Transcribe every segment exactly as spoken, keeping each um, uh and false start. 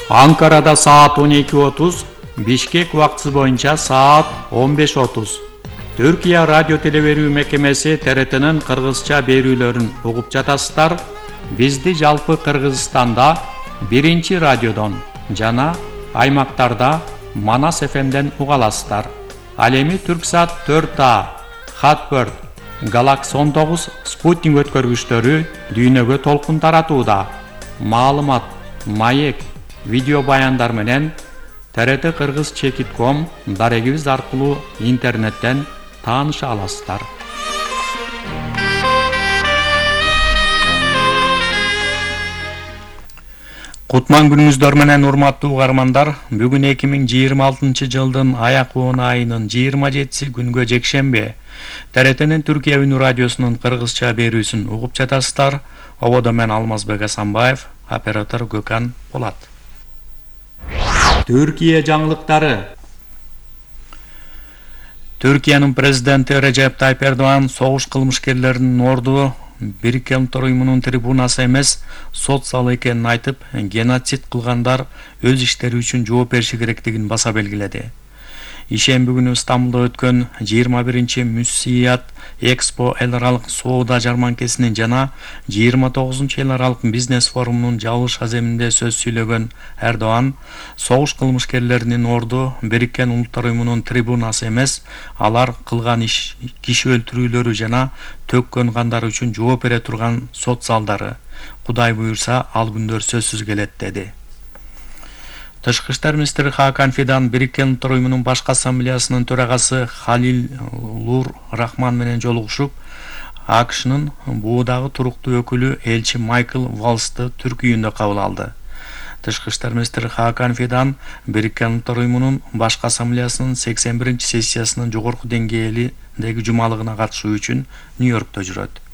Анкарада саат он эки отуз, Бишкек убактысы боюнча саат он беш отуз. Түркия радио телеберүү мекемеси Т Р Т'нин кыргызча берүүлөрүн угуп жатасыздар. Бизди жалпы Кыргызстанда биринчи радиодон жана аймактарда Манас Ф M'ден уга аласыздар. Ал эми Түрксат төрт А, Хатберт, Галакс он тогуз спутник өткөргүчтөрү дүйнөгө толкун таратууда. Маалымат, маек, видео баяндар менен Т Р Т Кыргыз чекит ком дарегибиз аркылуу интернеттен тааныша аласыздар. Кутман күнүңүздөр менен урматтуу угармандар. Бүгүн эки миң жыйырма алтынчы жылдын аяк он айынын жыйырма жетиси күнгө жекшемби. Т Р Т'нин Түркия үнү радиосунун кыргызча берүүсүн угуп жатасыздар. Ободо мен Алмазбек Асанбаев, оператор Gökhan Polat. Түркия жаңылыктары. Түркиянын президенти Режеп Тайып Эрдоган согуш кылмышкерлеринин орду Бириккен Улуттар уюмунун трибунасы эмес, сот залы экенин айтып, геноцид кылгандар өз иштери үчүн жооп бериши керектигин баса белгиледи. Ишемби күнү Стамбулда өткөн жыйырма биринчи Мүсият Экспо эл аралык соода жарманкесинин жана жыйырма тогузунчу эл аралык бизнес форумунун жабылыш аземинде сөз сүйлөгөн Эрдоган, согуш кылмышкерлеринин орду Бириккен Улуттар уюмунун трибунасы эмес, алар кылган иш, киши өлтүрүүлөрү жана төккөн кандары үчүн жооп бере турган сот залдары. Кудай буйрса, ал күндөр сөзсүз келет деди. Тышкы иштер министри Хакан Фидан Бириккен Улуттар уюмунун башкы ассамблеясынын төрагасы Халилур Рахман менен жолугушуп, А К Ш'нын буудагы туруктуу өкүлү элчи Майкл Валсты Түрк үйүндө кабыл алды. Тышкы иштер министри Хакан Фидан Бириккен Улуттар уюмунун башкы ассамблеясынын сексен биринчи сессиясынын жогорку деңгээлиндеги жумалыгына катышуу үчүн Нью-Йоркто жүрөт.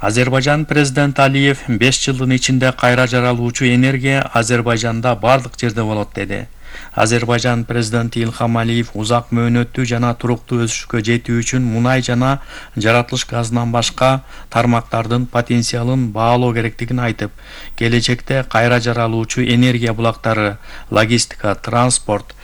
Азербайжан президенти Алиев беш жылдын ичинде кайра жаралуучу энергия Азербайжанда бардык жерде болот деди. Азербайжан президенти Илхам Алиев узак мөөнөттүү жана туруктуу өсүшкө жетүү үчүн мунай жана жаратылыш газынан башка тармактардын потенциалын баалоо керектигин айтып, келечекте кайра жаралуучу энергия булактары, логистика, транспорт,